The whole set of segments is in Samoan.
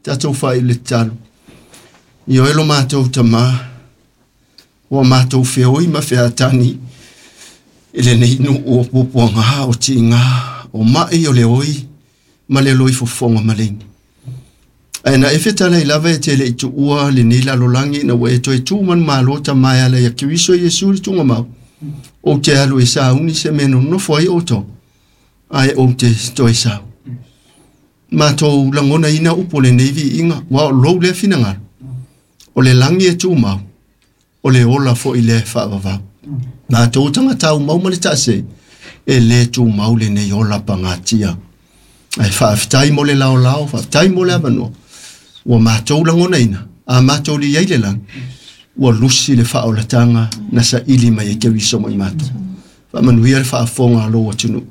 Tatou faaiu i le tatalo. Ioe lo matou Tamā, ua matou feoi ma featani i lenei nuu o puapuaga, o tiga, o mai, o le oi ma le loifofoga maleini. Ae na e fetalai lava e te le i tuua lenei lalolagi ina ua e toe tu manumalo Tama e ala ia Keriso Iesu le Tugamau, ou te alu e sauni se mea e nonofo ai outou, ae ou te toe sau. Matou lagonaina upu o lenei viiga, ua o lou lea finagalo, o le lagi e tumau, o le ola foi lea e faavavau. Matou tagata aumau ma le taasei, e le tumau lenei ola pagatia. Ae faafetai mo le laolao, faafetai mo le avanoa, ua matou lagonaina, a matou liai le lagi, ua lusi le faaolataga na saili mai e Keriso mo i matou. Faamanuia le faafofoga a lou atunuu.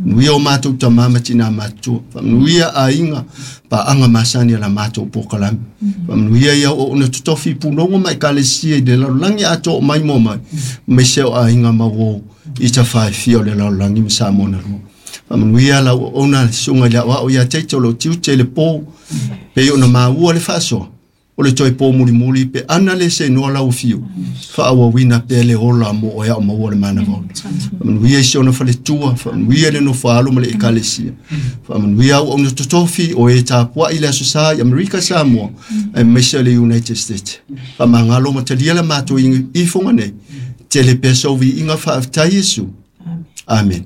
Manuia o matou tama ma tina matutua. Faamanuia aiga, paaga masani a la matou polokalame. Faamanuia i auauna totofi punoga ma ekalesia i le lalolagi atoa o maimoa mai, aemaise o aiga ma uo i tafaefia o le lalolagi ma Samoa na lua. Faamanuia lau auauna le susuga i le aoao ia Taito o lou tiute i le po, pei ona maua le faasoa, o le toe po mulimuli pe ana le seinoa lau afio, faaauauina pea le ola mo oe ao maua le manava ola. Faamanuia i si ona faletua, faamanuia le nofo a alo ma le ekalesia. Faamanuia auauna totofi o e tapuai le Aso Sa i Amerika Samoa, aemaise o le United States. Faamagalo ma talia la matou ifoga nei, tele pea sou viiga faafetai Iesu. Amen.